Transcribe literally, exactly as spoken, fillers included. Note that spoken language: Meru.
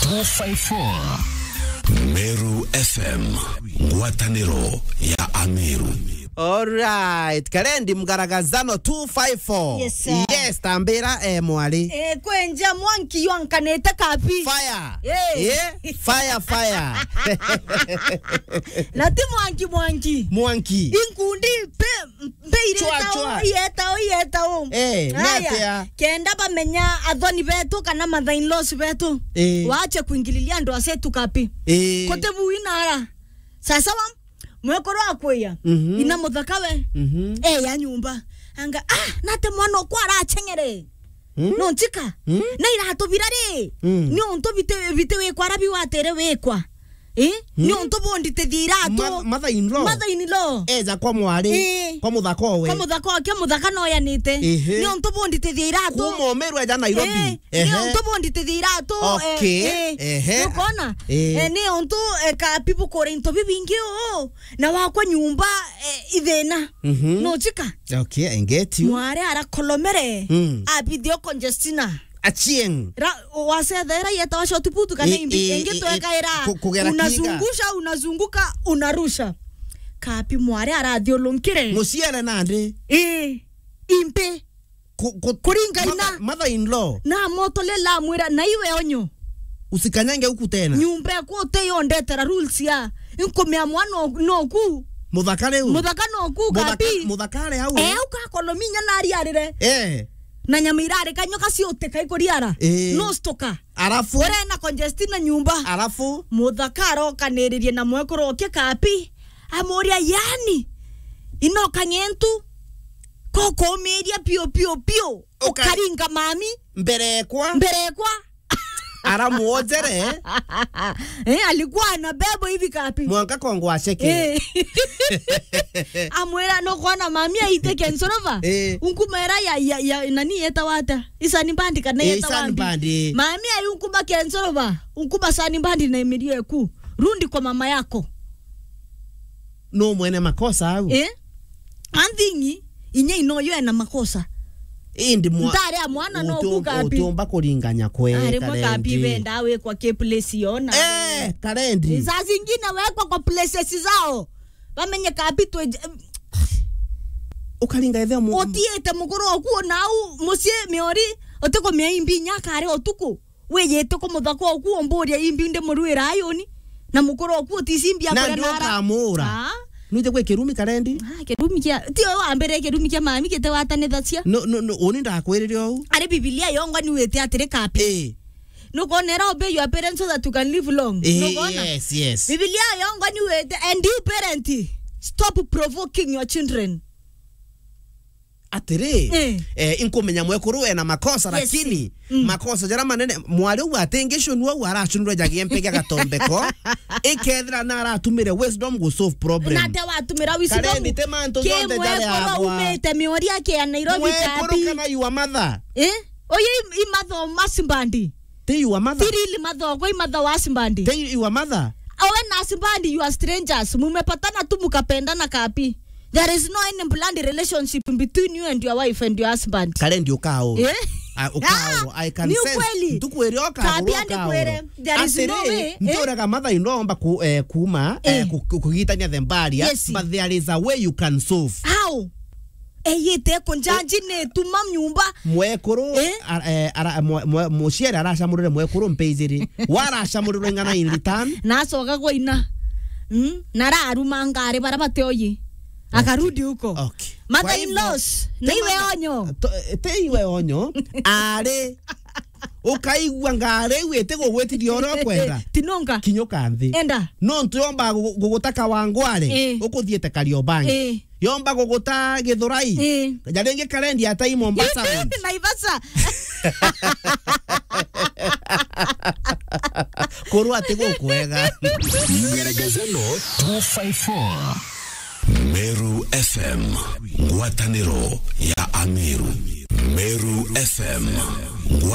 Two five four. Meru F M, ngwataniro ya Ameru. Alright, Karendi Mgaragazano two five four. Yes, sir. Yes, tambira, eh, mwari. Eh, kwenja mwanki ywankanite kapi. Fire. Eh. Eh, fire, fire. Na ti mwanki, mwanki. Mwanki. Inkundi pe Mbeireta Chwa, chwa. Iyeta u, iyeta u. Eh, ni atia? Kenda bamenya athoni betu kana mother-in-laws betu. Eh. Waache kuingililia andu asetu kapi. Eh. Kuti bui nara. Sasa wa, mwekuru akwiya. Mhm. Ina muthaka we. Mhm. Eh, ya nyumba. Anga, ah, nate mwana okwa aracheng'ere. Mm. No nchika. Mm. Na iratu bira ri. Mm. Ni untu biti, biti wikwa arabi watere wikwa. Eh? Mm. Ni untu bonditithia iratu. Ma-, mother-in-law. Mother-in-law. Eja kwa mwari. Eh. Kwa muthaka owe. Kwa muthaka oke, muthaka no yanite. Ehe. Ni untu bonditithia iratu. Kuma Umeru eja Nairobi. Eh. Ehe. Ni untu bonditithia iratu. Okay. Eh, eh. Ehe. Nukona? Eh. Eh, ni untu, eh, kapi bukure into bibingi uu. Na wakwa nyumba, eh, ithina. Mhm. No chika. Okay, I get you. Mwari arakolomere. Mm. Abithio Conjestina. Achieng. Ra, wasethera yeta wa short put kana I, imbi, i, ingi i, twekaira. Ku-, kugera kiga. Unazungusha, unazunguka, unarusha. Kapi mwari arathiulunkire. Muciere nandi. Ii. Imbi. Ku-, ku-, kuringa mother, ina. Mother-in-law. Na moto lela amwira, na iwe onyo. Usikanyange huku tena. Nyumba eku uteyondetera rules ya. Inkumia mwana o-, noku. Muthaka riu. Muthaka noku, muthaka, kapi. Muthaka ari au. Eh, ukakolomia inya na ariarire. Eh. Na nyama irarika nyoka ciutika ikuriara. Eh. No stoka. Arafu. Ore na Conjestina nyumba. Arafu. Muthaka arokaniririe na mwekuru oke kapi. Amuria, yani, inoka ng'entu, kokomiria pio, pio, pio. Uka-, ukaringa mami. Mbere ekwa. Mbere ekwa. Aramuonjere. Eh, alikuwa anabebwa hivi kapi. Mwanka kongo aceke. Eh. Amwira, no kuona mami aite kensorova. Eh. Unkumera ya, ya, ya, nani yeta wata? Isani bandi kana eh, yeta Isani wambi? Bandi. Mami ayu unkuma kensorova. Unkuma sani bandi na imirio eku. Rundi kwa mama yako. No mwene makosa au. Eh? Anthingi, inya inoyo ena makosa. Indi mwa-, ntare ya mwana no utium-, kukapi. Utiumba kuringanya kwe. Ari mwe kapi Karendi. Benda wekwa ke place yona. Eh, Karendi. Saa zingine wekwa kwa places zao. Bamenye kapi twe-, ukaringa ethe mu-, utiite mukuru oku nau mucii miori, utikumia imbi inya kare utuku. Wiyite ku muthaka oku umburia imbi ndi murwira ayuni, na mukuru oku utisi imbi na akuria ndi nara. Ukamura. Ah. Nuje gwe kirumi Karendi? Ah, kirumi kia, ti we wa mbere kirumi kia mami gite watanithacia. No, no, no, uni ndakwirire ou. Ari Biblia yongwa ni wite atiri kapi. Eh. Nukwona era obey your parents so that you can live long. Eh, nukwona? Yes, yes. Biblia yongwa ni wite, and you parent, stop provoking your children. Atiri, eh, eh, inkumenya mwekuru ena makosa, yes, lakini, mm, makosa jara manene, mwari u atingicunua u aracunure jagie mpege gatombeko, ikethira na aratumire wisdom gu solve problem. Na te watumira wisdom. Karendi te mantu jonthe jari mwekuru agwa. Umite miori ake ya Nairobi mwekuru kapi. Kana your mother. Eh? Oye i-, i matho masibandi. Ti your mother. Ti really mother, kwa i mother wa husband. Ti your mother. Owe na husband, you are strangers. Mumepatana tu mukapendana kapi. There is no any blood relationship between you and your wife and your husband. Karendi ukao. Eh? Ah, ukao. Ah, I can sense. Ni ukweli. Ntukwere ukao. Kabi andi kwere. There is no way. Atiri, eh? Ntiuraga mother-in-law omba ku-, eh, kuma, eh, eh, ku-, ku-, kugitania the barrier, yes, but there is a way you can solve. How? Eyite kunjanji ni tuma nyumba. Mwekuru, eh? Ara-, eh, ara-, mwe-, mwe-, muciari aracamurire mwekuru mpe ijiri. Waracamurirwe ing'ana in return? Na acoka gwa ina. Mm? Na araruma ngari bara bateoyi. Akarudi huko. Okay. Mother-in-laws, na iwe onyo. To-, te iwe onyo. Ari. Ukaigua ngari iu itigugwitiria uria ukwenda. Tinunga. Kinyuka nthi. Enda. Nontu yomba gu-, gugutaka wangware, eh, ukuthiete Kariobangi. Eh. Yomba guguta Githurai. Eh. Ja ringi Karendi atai Mombasa Road. Naivasha. Kurwa ati gukwega. Mweregezano two five four. Meru F M, ngwataniro ya Ameru. Meru F M,